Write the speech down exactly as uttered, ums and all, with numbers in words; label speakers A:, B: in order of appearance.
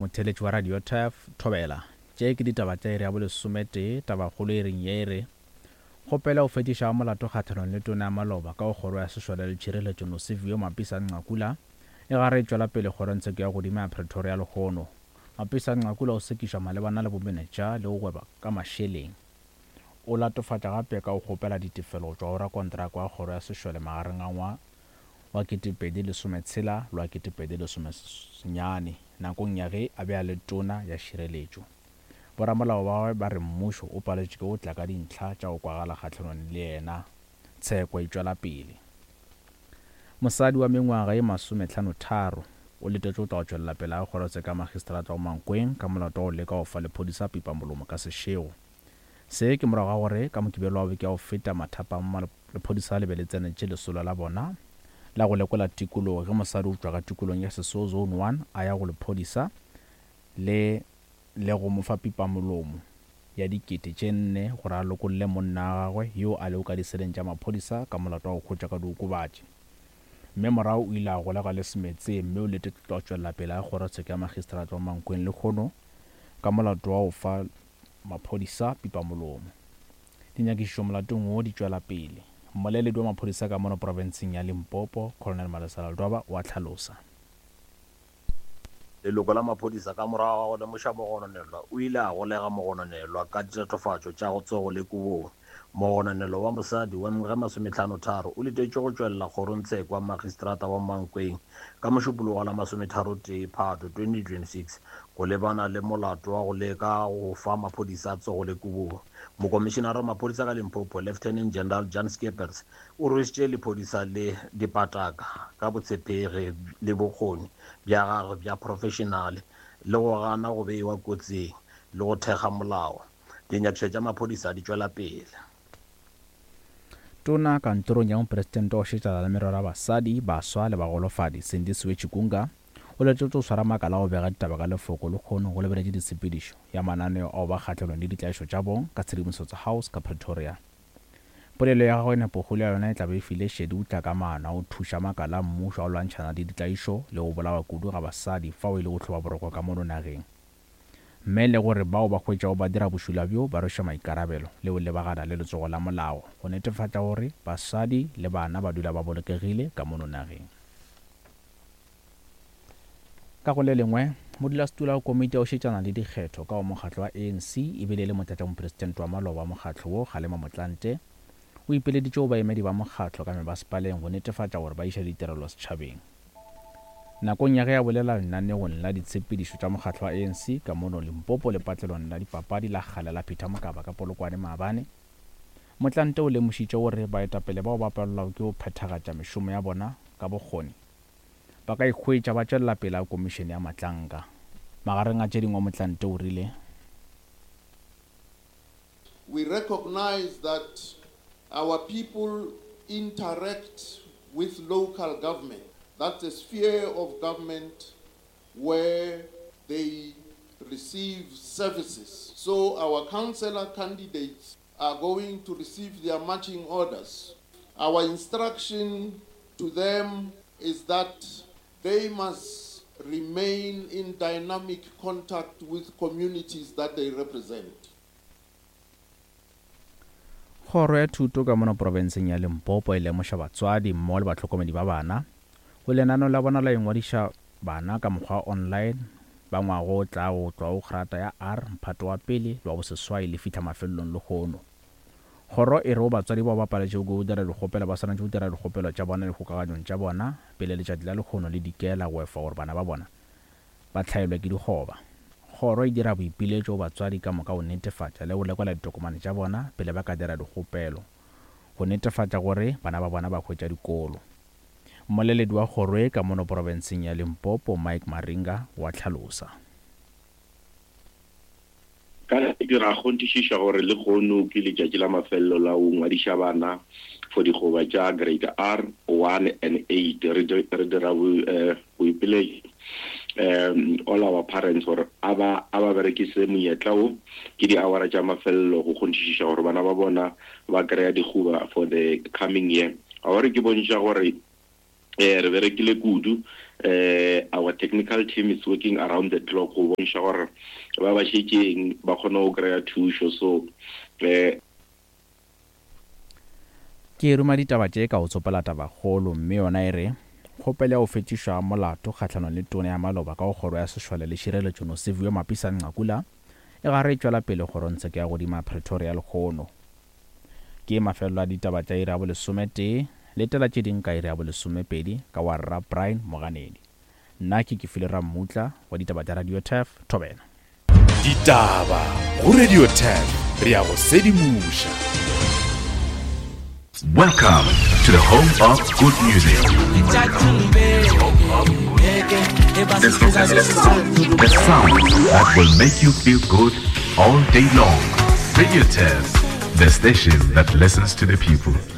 A: Motheeletši wa Radio Turf, Thobela. Tše ke ditaba tša iri ya bolesometee, tabakgolo e reng ye e re, Kgopelo ya go fetiša ga molato kgahlanong le tona ya maloba ka go kgoro ya sešole le tšhireletšo Nosiviwe Mapisa Nqakula e gare e tšwela pele kgorongtsheko ya godimo ya Pretoria lehono. Mapisa Nqakula o sekišwa malebana le bomenetša le go gweba ka mašeleng. O latofatša gape ka go kgopela ditefelo go tšwa go rakontraka wa kgoro ya sešole magareng a ngwa wa ketepedi lesometshela le wa ketepedi lesomesenyane nakong ya ge a be a le tona ya šireletšo. Boramolao ba gagwe ba re mmušo o paletšwe ke go tla ka dintlha tša go kwagala kgahlanong le yena. Tsheko e tšwela pele. Mosadi wa mengwaga ye masomehlanotharo o letetšwe go tla go tšwelela pele ga kgorotsheko ya magistrata wa Mankweng ka molato wa go leka go fa lephodisa pipamolomo ka sešego. Se ke morago ga gore ka Mokibelo wa beke ya go feta mathapama lephodisa le be le tsenetše lesolo la bona la go lekola tikologo ge mosadi o tšwa ka tikolong ya Sesoo Zone one a ya go lephodisa le le go mo fa pipamolomo ya dikete tše nne gore a lokolle monna wa gagwe yo a lego ka diseleng tša maphodisa ka molato wa go hwetšwa ka diokobatši. Mme morago o ile a golegwa le Semetseng mme o letetšwe go tšwelela pele ga kgorotsheko ya magistrata wa Mankweng lehono ka molato wa go fa maphodisa pipamolomo. Dinyakišišo molatong wo di tšwela pele. Mmoleledi wa maphodisa ka mono profenseng ya Limpopo, Colonel Malesela Ledwaba o a hlalosa.
B: Leloko la maphodisa ka morago ga go lemoša mogononelwa o ile a golega mogononelwa ka ditatofatšo tša go tsogo le kobong. Mogononelwa wa mosadi wa mengwaga e masomehlano-tharo o letetšwe go tšwelela kgorongtsheko ya magistrata wa Mankweng ka Mošupologo wa la masometharotee Phato twenty twenty-six go lebana le molato wa go leka go fa maphodisa tsogo le kobong. Mokomišenara wa maphodisa ka Limpopo, Lieutenant General Jan Skeepers, o rwešitše lephodisa le dipataka ka botshepegi le bokgoni bja gagwe bja profešenale le go gana go beiwa kotsing le go thekga molao. Dinyakišišo tša maphodisa di tšwela pele.
A: Tona kantorong ya mopresidente wa go šetšana le merero ya basadi, baswa le bagolofadi, Sindisiwe Chikunga, o letetšwe go swara makala a go bega ditaba ka lefoko lehono go lebeletše ditshepedišo ya mananeo ao ba kgahlanong le ditlaišo tša bong ka Tshedimosetso House ka Pretoria. Polelo ya gagwe nepokgolo ya yona e tla be e file šedi go tla ka maano a go thuša makala a mmušo a go lwantšhana le ditlaišo le go bolawa kudu ga basadi fao e le go hloba boroko ka mono nageng, mme le gore bao ba hwetšwago ba dira bošula bjo ba rwešwe maikarabelo le go lebagana le letsogo la molao go netefatša gore basadi le bana ba dula ba bolokegile ka mono nageng. Ka go le lengwe, modulasetulo wa komiti ya go šetšana le dikgetho ka go mokgatlo wa A N C ebile e le motlatšamopresidente wa maloba wa mokgatlo wo, Kgalema Motlanthe, o ipeleditše go baemedi ba mokgatlo ka mebasepaleng go netefatša gore ba iša ditirelo setšhabeng. Nakong ya ge a bolela lenaneong la ditshepedišo tša mokgatlo wa A N C ka mono Limpopo lepatlelong la dipapadi la kgale la Peter Mokaba ka Polokwane maabane, Motlanthe o lemošitše gore baetapele bao ba palelwago ke go phethagatša mešomo ya bona ka bokgoni ba ka ikhwetša ba tšwelela pele ga komišene ya matlanka. Magareng a tše dingwe Motlanthe o rile,
C: We recognize that our people interact with local government. That's a sphere of government where they receive services. So our councillor candidates are going to receive their marching orders. Our instruction to them is that they must remain in dynamic contact with communities that they represent.
A: Kgoro ya thuto ka mono profenseng ya Limpopo e lemoša batswadi mmogo le bahlokomedi ba bana go lenaneo la bona la ingwadiša bana ka mokgwa wa online ba ngwaga o tlago go tloga go grata ya R mphato wa pele le wa boseswai le fihla mafelelong lehono. Kgoro e re go batswadi bao ba paletšego ke go dira dikgopelo ba swanetše go dira dikgopelo tša bona dikgokaganyong tša bona pele letšatši la lehono le dikela go efa gore bana ba bona ba hlaelwe ke dikgoba. Kgoro e dira boipiletšo go batswadi ka moka go netefatša le go lekola ditokomane tša bona pele ba ka dira dikgopelo go netefatša gore bana ba bona ba hwetša dikolo. Mmoleledi wa kgoro e ka mono profenseng ya Limpopo, Mike Maringa, wa hlalosa.
D: Ka dira kgonthišiša gore lehono ke letšatši la mafelelo la go ngwadiša bana for dikgoba tša grade R one and eight. Re dira boipiletšo um all our parents gore a ba a ba berekise monyetla wo ke di-hour tša mafelelo go kgonthišiša gore bana ba bona ba kry-a dikgoba for the coming year. A gore ke bontšha gore eh re berekile kudu Uh, our technical team is working around the clock go bontšha gore ba ba šetšeng ba kgone go kry-a thušo. So uh,
A: Ke ruma ditaba tše ka go tsopela tabakgolo, mme yona e re kgopelo ya go fetišwa molato kgahlanong le tona ya maloba ka go kgoro ya sešole le tšhireletšo Nosiviwe Mapisa Nqakula e gare e tšwela pele kgorongtsheko ya godimo ya Pretoria lehono. Ke mafelelo a ditaba tša iri ya bolesometee, letela tše ding ka iri ya bolesomepedi ka wa Rra Brian Moganedi. Nna ke Kefilwe Rammutla wa ditaba tša Radio Turf, Thobela.
E: Ditaba go Radio Turf, re ya go sedimoša.
F: Welcome to the home of good music. The sound that will make you feel good all day long. Radio Turf, the station that listens to the people.